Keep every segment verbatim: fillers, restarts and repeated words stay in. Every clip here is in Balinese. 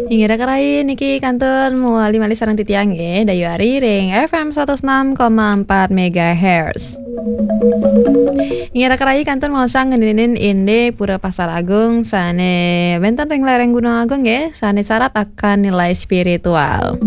Inggih raka rayi, niki kantun malih-malih sareng titiang nggih, Dayu Ari ring F M seratus enam koma empat megahertz. Inggih raka rayi, kantun maosang ngeninin indik Pura Pasar Agung sane wenten ring lereng Gunung Agung nggih, sane syarat akan nilai spiritual.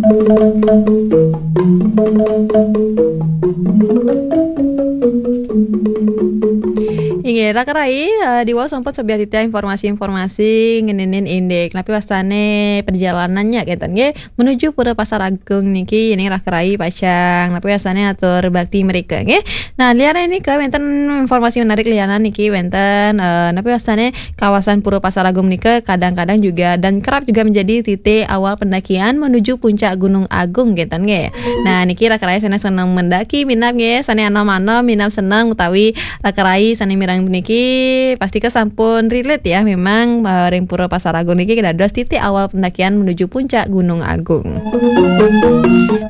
Inggih, raka rayi, eh, diwau sampun sobiah titiang informasi-informasi ngeninin indik napi wastane perjalanannya kenten nggih menuju Pura Pasar Agung niki, yening raka rayi pacang napi wastane atur bakti mrika nggih. Nah, liane nika wenten informasi menarik lianan niki wenten, eh, napi wastane kawasan Pura Pasar Agung nika kadang-kadang juga dan kerap juga menjadi titik awal pendakian menuju puncak Gunung Agung kenten nggih. Nah, niki raka rayi sane seneng mendaki minab nggih, sane anom-anom minab seneng utawi raka rayi sane mireng puniki pastika sampun relate ya, memang, eh, ring Pura Pasar Agung niki dados titik awal pendakian menuju puncak Gunung Agung.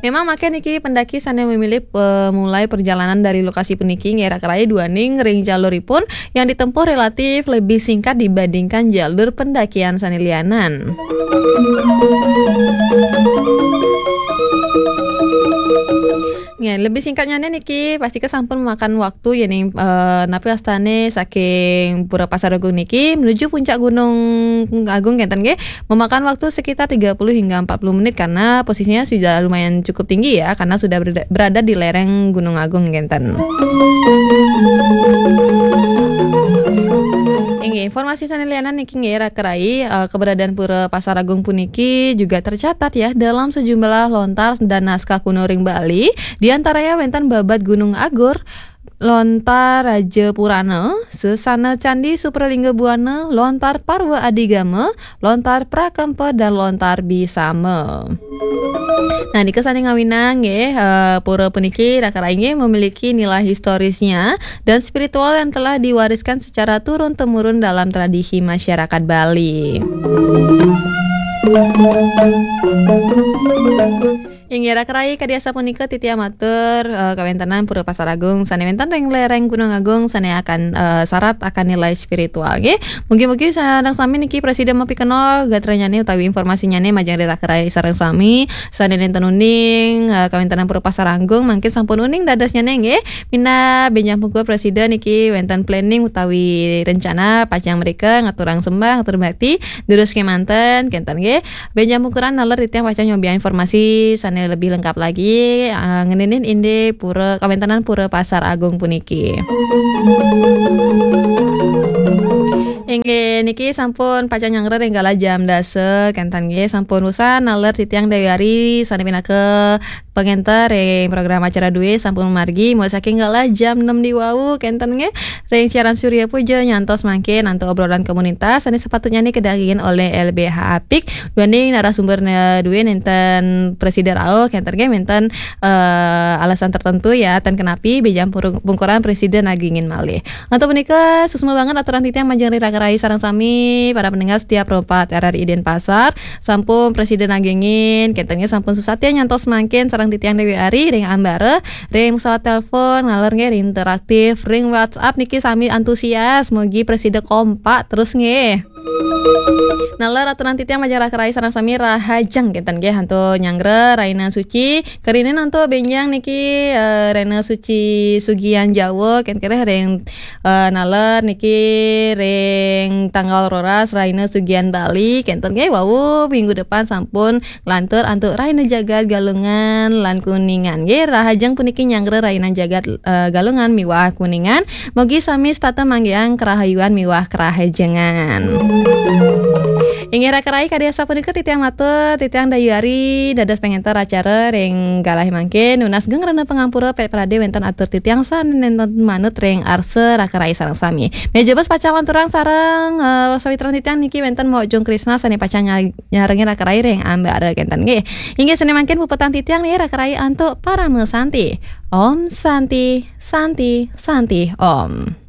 Memang mangke niki pendaki sane memilih, eh, mulai perjalanan dari lokasi puniki nggih raka rayi duaning ring jaluripun yang ditempuh relatif lebih singkat dibandingkan jalur pendakian sane lianan. Nggih, lebih singkatnya niki pastika sampun memakan waktu yening, eh, napi wastane saking Pura Pasar Agung niki menuju puncak Gunung Agung kenten nggih, memakan waktu sekitar tiga puluh hingga empat puluh menit karena posisinya sudah lumayan cukup tinggi ya, karena sudah berada, berada di lereng Gunung Agung kenten. Inggih, informasi sane lianan niki nggih raka rayi, eh, keberadaan Pura Pasar Agung puniki juga tercatat ya dalam sejumlah lontar dan naskah kuno ring Bali, di antaranya wenten babad Gunung Agur, lontar Raja Purana, Sesana Candi Supralingga Buana, lontar Parwa Adigama, lontar Prakempa dan lontar Bisama. Nah, nika sane ngawinang nggih, eh, pura puniki raka rayi nggih memiliki nilai historisnya dan spiritual yang telah diwariskan secara turun-temurun dalam tradisi masyarakat Bali. Inggih raka rayi, kadi asapunika titiang matur, eh, kawentenan Pura Pasar Agung sane wenten ring lereng Gunung Agung sane akan, eh, syarat akan nilai spiritual nggih. Mugi-mugi sareng sami niki prasida mapikenoh gatranyane utawi informasinyane majeng ring raka rayi sareng sami sane nenten uning, eh, kawentenan Pura Pasar Agung mangkin sampun uning dadosnyane nggih. Minab benjang pungkur prasida niki wenten planning utawi rencana pacang mrika ngaturang sembah, ngatur bakti, durus kemanten kenten nggih. Benjang pungkuran naler titiang pacang nyobiahang informasi sane lebih lengkap lagi, eh, ngeninin indik pura, kawentenan Pura Pasar Agung puniki. Inggih, niki sampun pacang nyanggra ring galah jam dasa kenten nggih, sampun usan naler titiang Dewi Ari sane pinaka pangenter ring program acara duwe sampun margi, mulai saking galah jam enam di wau kenten nggih, ring siaran Surya Puja nyantos mangkin antuk obrolan komunitas sane sepatutnyane kadagingin olih L B H Apik, duaning narasumber ne duwe nenten prasida rauh kenten nggih, wenten, eh, alasan tertentu ya, ten kenapi benjang purung-, pungkuran prasida nagingin malih. Antuk punika, suksma banget aturan titiang majeng ring raka rayi sareng sami, para pendengar setia Pro empat R R I Denpasar, sampun prasida nagingin, kenten nggih sampun susatya nyantos mangkin sareng titiang Dewi Ari ring ambara, ring pesawat telepon, naler nggih ring interaktif, ring WhatsApp niki sami antusias, mugi prasida kompak terus nggih. Naler aturan titiang majeng raka rayi sareng sami rahajeng kenten nggih antuk nyanggra rahina suci, karina antuk benjang niki, eh, rahina suci Sugian Jawa kenten nggih ring, eh, naler niki ring tanggal roras rahina Sugian Bali kenten nggih, wau minggu depan sampun nglantur antuk rahina jagat Galungan lan Kuningan nggih. Rahajeng puniki nyanggra rahina jagat, eh, Galungan miwah Kuningan. Mugi sami setata manggiang kerahayuan miwah kerahajengan. Inggih raka rayi, kadi asapunika titiang matur, titiang Dayu Ari dados pangenter acara ring galah mangkin, nunas geng rena pangampura pek prade wenten atur titiang sane nenten manut ring arsa raka rayi sareng sami. Menawi pacang ngaturang sareng, eh, sawitran titiang niki wenten Mok Jung Krisna sane pacang nya-, nyarengin raka rayi ring ambara kenten nggih. Inggih sane mangkin puputang titiang niki raka rayi antuk parama santi. Om Santi, Santi, Santi, Om.